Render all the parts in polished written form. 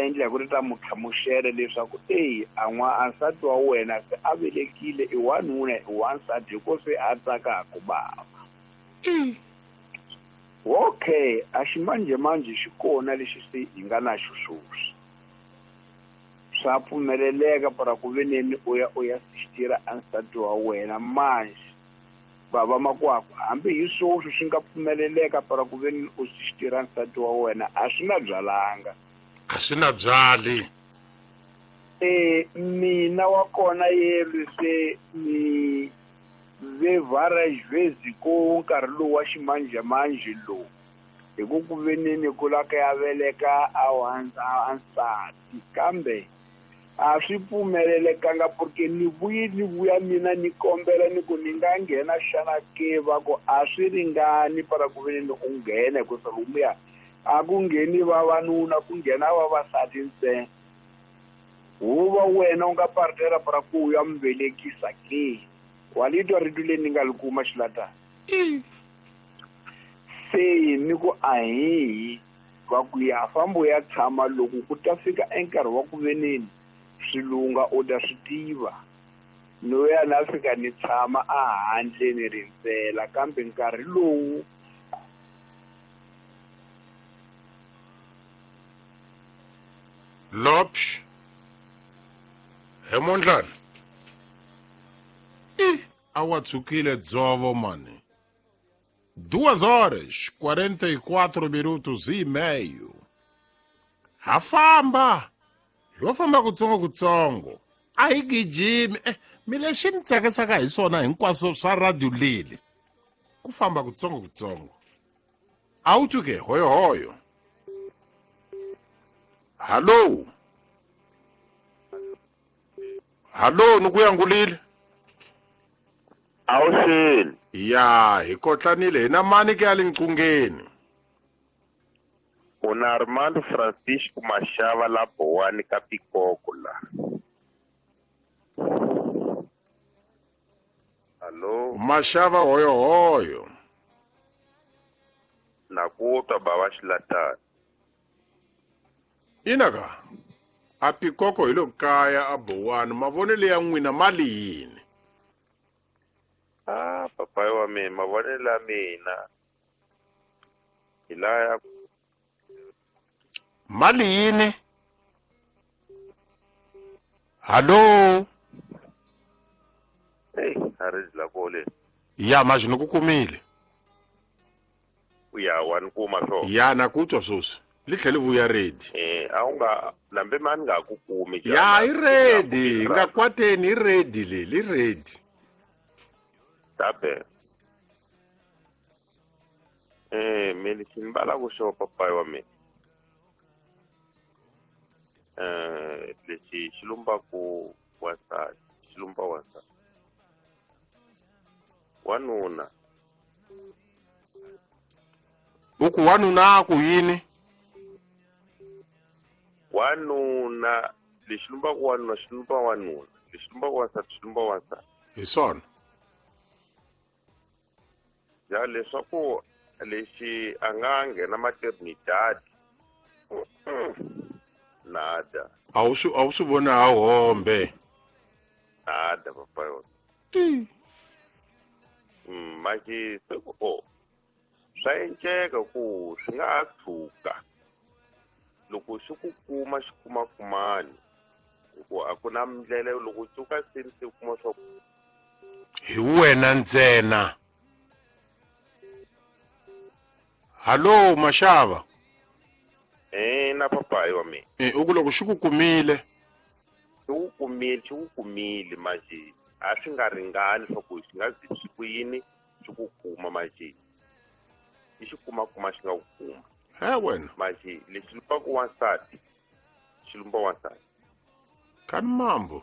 Endla hi ku ri ta mu hlamusela leswaku eyi a n'wa a nsati wa wena se a velekile i wanuna i wansati hi ko se a tsakaku bava. Okay, a ximanjhemanjhe xi kona lexi se hi nga na xo sweswi. Swa pfumeleleka para ku veneni u ya u ya sixtira a nsati wa wena manje bava makwakwa hambi hi sweswi swi nga pfumeleleka para ku veneni u sixtira nsati wa wena a swi na byalanga. A swi na byali. E mina wa kona yelwe se ni ve várias vezes ko nkarhi lowu wa ximanjhemanjhe lowu hi ku ku veneni ku la ka ya veleka a a nsati kambe a swi pfumelelekanga porque ni vuyi ni vuya mina ni kombela ni ku ni nga nghena xana ke va ku a swi ringani para ku veneni u nghena hikusa lomuya a ku ngheni vavanuna ku nghena vavasati ntsena. Huva wena u nga partera para ku u ya mi velekisa ke. Wa li twa rito leri ni nga li kuma xilatana? Se ni ku ahihi va ku ya famba u ya tshama loko ku ta fika enkarhi wa ku veneni swi lunga u ta swi tiva. No ya na fika ni tshama a handle ni rindzela kambe nkarhi lowu Lopsh he mondlana i a wa tshukile dzovo mani. 2 horas 44 minutos e meio. Ha famba yo famba kutsongo kutsongo a hi gijimi. Mi lexi ni tsakisaka hi swona hinkwaswo swa radio leli ku famba kutsongo kutsongo. A wu twi ke hoyohoyo. Hallo, hallo, ni ku yangulile. Awuxeni. Ya hi kotlanile hi na mani ke ya le nqungeni. U na Armando Francisco Mashava la Bowani ka Pikoko la. Hallo. Mashava hoyohoyo. Na ku twa bava xilatana. Ina ka a Pikoko hi lo kaya a Bowani mavonelo ya n'wina mali yini? Ah papayi wa mina mavonelo ya mina hi laya. Mali yini? Hallo. Hey, a ri la kole. Ya manje ni ku kumile. Ya wa ni kuma swo. Ya na ku twa sweswi. Li tlhele vuya ready. A wu nga lambe mani nga ku kumi. Ya i ready, nga kwateni i ready le, li ready. Tabe. Me lexi ni valaka xo papayi wa mina. Lexi xi lumbaku wansati, xi lumba wansati. Wanuna. U ku wanuna ku yini? Wanuna lexi lumbaku wanuna xi lumba wanuna, lexi lumbaku wansati xi lumba wansati. Hi swona. Ya leswaku lexi a nga nghena maternidad nada. A wu swi voni a hombe. Nada papa yona. Manje se ku o swa enceka ku swi nga ha tshuka loko xi ku kuma xi kuma kumani hikuva a ku na ndlela loko tshuka se se kuma swa hi wena ntsena. Hallo Mashava. Na papayi wa mina. U ku loko xi ku kumile. Xi ku kumile, xi ku kumile manje a swi nga ringani swa ku xi nga zi swi ku yini xi ku kuma manje. I xi kuma kuma xi nga ku kuma. He wena. Manje lexi lumbaku wansati, xi lumba wansati. Kani mambo.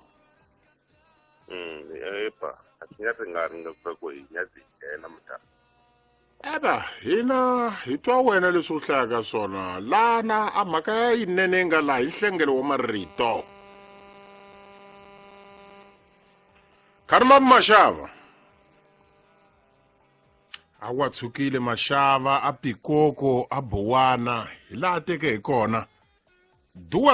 Epa, a swi nga ringani nga ku hi nga zi nghena mutana. Eba, hina hi twa wena leswi u hlayaka swona lana a mhaka ya yinene nga laha hi nhlengelo wa marito. Kharima Mashava. A wa tshukile Mashava a Pikoko a Bowana hi laha teke hi kona. 2